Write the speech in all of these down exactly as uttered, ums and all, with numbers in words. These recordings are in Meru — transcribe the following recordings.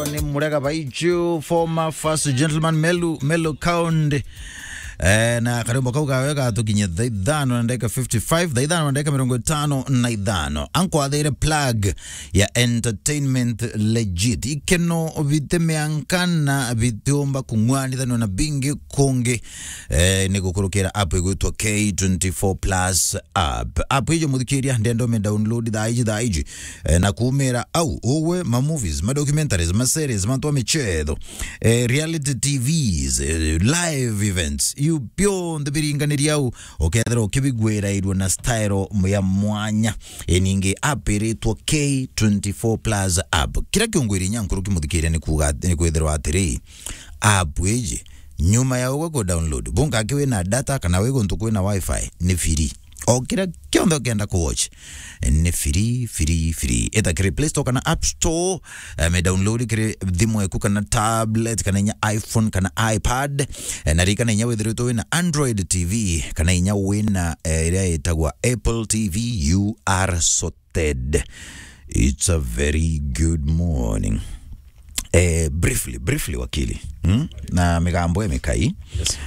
Ni Murega Baichu, former first gentleman, Melu, Melu Kaunde. Eh, na karimbo kau kawe gatukinyia thaa ithano na ndagika fifty-five, thaa ithano na ndagika mirongo itano na ithano. Ankwathiire plug ya entertainment legit. Ikeno bite mianka na bitiumba kung'wanithanua na bingi kungi. Eh, ni gukurukira app igwitwa K twenty-four Plus app. App ijo muthikiria, ndenda ume download thaa iji, thaa iji. Eh, na kuumira au, ugwe ma movies, ma documentaries, ma series, mantu ma michetho, eh, reality T Vs, eh, live events, iu bionthe biringaniria au, ukethira ukibigwirairua na style ya mwanya. Iningi app iritwa K twenty-four Plus app. Kiria kiungwiri inya nkuruki muthikiria ni kuuga ati, ni kwithirwa atiri, app iji, nyuma ya ugwe ku download, bunka aki wina data kana wi guntu kwina wifi, ni free. O kiria kionthe ukenda ku watch, ni free, free, free. Ita kiri Play Store kana App Store, eh, me download kiri thimu eku kana tablet, kana inya iPhone kana iPad, eh, na ririkana inya withiritwe wina Android T V, kana inya wina, eh, iria itagwa Apple T V, you are sorted. It's a very good morning. Eh, briefly, briefly, wakili. Hmm? Na migambo ya mikai. Yes.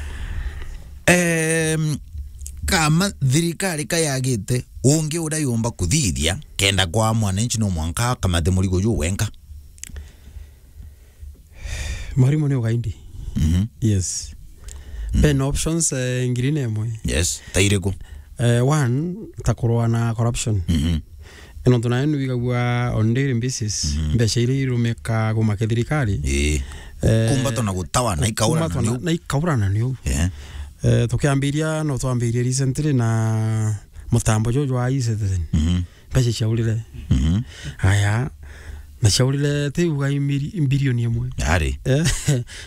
Em, kama thirikari kayagite, ungi uria yumba kuthithia, kenda kwa mwananchi no mwanka akamate murigo ju wenka. Mwarimu ni ugaindi. Mhm. Yes. Mm. Bena options, eh, ngiri na imwe. Yes. Ta iriku? Eh, one, ta kurua na corruption. Mhm. Nontu nayo nwigagua on daily basis, mhm, mbeca iria irumika kumake thirikari. Ii. Eh, kumbatwa na gutawa, na ikaurana kumbatwa na, niu. Na ikaurana niu. Yeah. Eh, tukiambiria, no twambirie recently na mutambo juju jwa e-Citizen. Mhm. Mbeca ciaurire. Mhm. Aya, na ciaurire ti uga i miri-, bilioni imwe. Ari. Eh,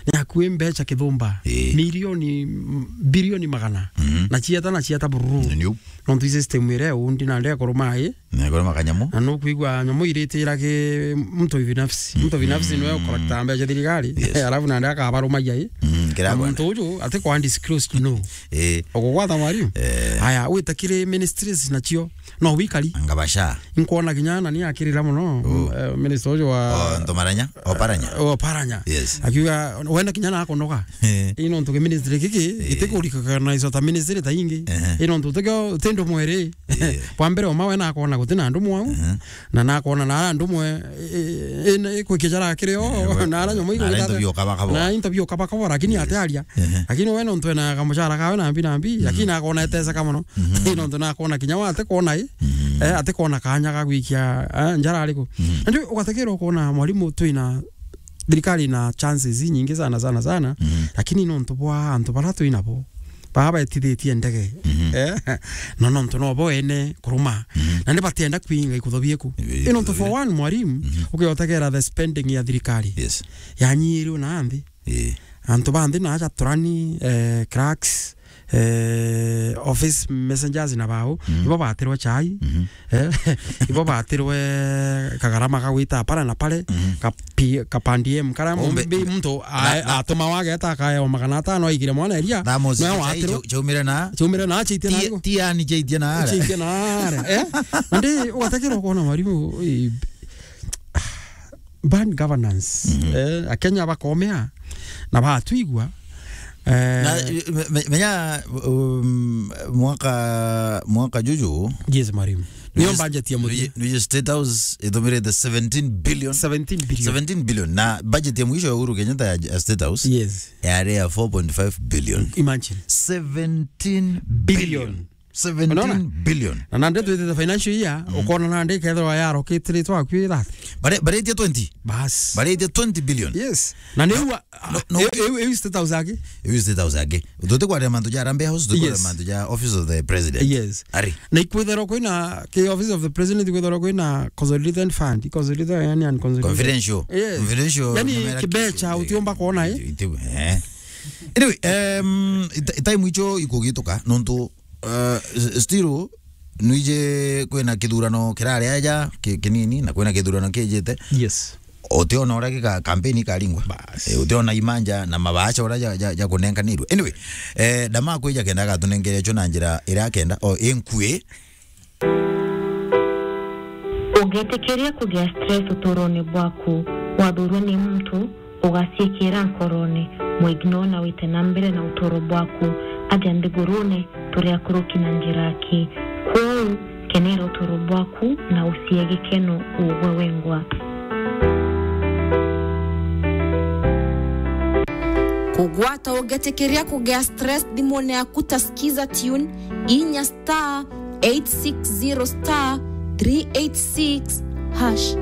ni akui mbeca kithumba. Ii. Milioni, m-, bilioni magana. Mhm. Na cieta, na cieta bururu. Ni u. Nontu i system iria undi na ndea kuruma i. Na kuruma kanyamu. Na nukwigua nyamu iritira ki mtu binafsi. Mtu binafsi niwe ukorakta mbeca thirikari. Yes. Alafu na ndea akabarumagia i. Mm, kira na muntu uju ati kwa undisclosed, no. Eh. Ukugwata mwarimu? Eh. Aya, wita kiri ministries nacio. No wikari. Ngabasha. Nkwona kinya nani akirira muno, oh, eh, minister uju wa, oh, Ntomaranya, Oparanya. Eh, Oparanya. Yes. Akiuga, wenda kinya na akonoga. Eh. Ino ntuke ministry kiki, eh, gitikurikana isota ministry ta ingi. Ehe. Ino ntuke tindo mwere. Eh. Kwa mbere oma wena akona gutina andu mwau. Ehe. Na nakona na andu mwe, eh, eh, eh, kwikicara kiri o, eh, na ara nyomo na ara into biokabakabo. Na into biokabakabo, lakini, yes, ate aria. Ehe. Lakini we nontu ena kamucara kawe na mbi na mbi, mhm, lakini nakona eteseka mono. Mhm. Ino ntu nakona kinya wa ate kona i. Mhm. Eh, ate kona kanya ga gwikia, eh, njara ariku. Mhm. Na ndio ugategerwa kona mwarimu twina thirikari na chances nyingi sana, sana, sana. Mhm. Lakini nontu bwa antu bara twinabo, baa betithitie ndege. Mhm. Eh, no nontu no bo ene kuruma. Mhm. Na ni batienda kwinga ikutho bieku. Ii, ino ntu for one mwarimu, mhm, ukiotegera the spending ya thirikari. Yes. Yanyirwe na nthi. Ii. Antu ba nthi na aja turani, eh, clerks, eh, office messengers na bao, mhm, ibo batirwe chai. Mhm. Eh, ibo batirwe kagarama ka gwita para na pare, mhm, ka P-, ka pandiem kara. Kumbe, mbi muntu na, a-, na atuma wageta akaewa magana atano aikire mwana eria. Thamos, no chai watirwe chau-, chaumire na? Chaumire na, chaitie na ti-, igo. Ti yani chaitie na ara. Chaitie na ara, eh? Na ndi ugatekerwa kuona mwarimu, eh, bad governance. Mhm. Eh, Akenya bakomea na batwigua. Eh, na, me-, me-, menya, um, mwaka, mwaka juju. Yes, mwarimu. Nio budget ya muthia. Nuje State House ithumire the seventeen billion. Seventeen billion. Seventeen billion. Na budget ya mwisho ya Uhuru Kenyatta ya, ya State House. Yes. Yari ya four point five billion. Imagine. Seventeen billion. Billion. Seventeen billion. Unaona? Na nande twitite financial year, mm, ukona nande ikethirwa yarokitire twakwi thirty. Bare-, baretie twenty. Bas. Baretie twenty billion. Yes. Na ni ua, no, no, e-, e-, e-, State House aki? E-, State House aki. Tutikwaria mantu ja Harambee House, tutikwaria, yes, mantu ja Office of the President. Yes. Ari. Na ikwitherwa kwina, ki Office of the President ikwitherwa kwina consolidated fund, consolidated, yani, unconsolidated. Confidential. Yes. Confidential. Yani, numera kibecha ki-, utiumba kuona, eh? Iti-, iti-, eh. Anyway, um, ita-, time icho ikugituka, nontu, uh, s-, still, nwije kwina kithurano kirari aja ki-, kinini, na kwina kithurano kijite. Yes. Utiona uria gika-, kampeni ikaringwa. Bas. Eh, utiona imanja na mabaasha uria ja, ja, ja kunenkanirwe. Anyway, eh, ndama kwija kenda agatunengere cho na njira iria akenda, o inkui. Ungitikiria kugia stress uturone bwaku, Wathurwa ni muntu, ugaciikira nkorone, mwignore na wite na mbere na uturo bwaku. Aja nthigurune, turi akuruki na njira aki. Kwou, kenera uturo bwaku na ucie gikeno ugwe wengwa. Kugwata ugetikiria kugea stress thimune yaku ta Skiza Tune, inya star eight six zero star three eight six hash.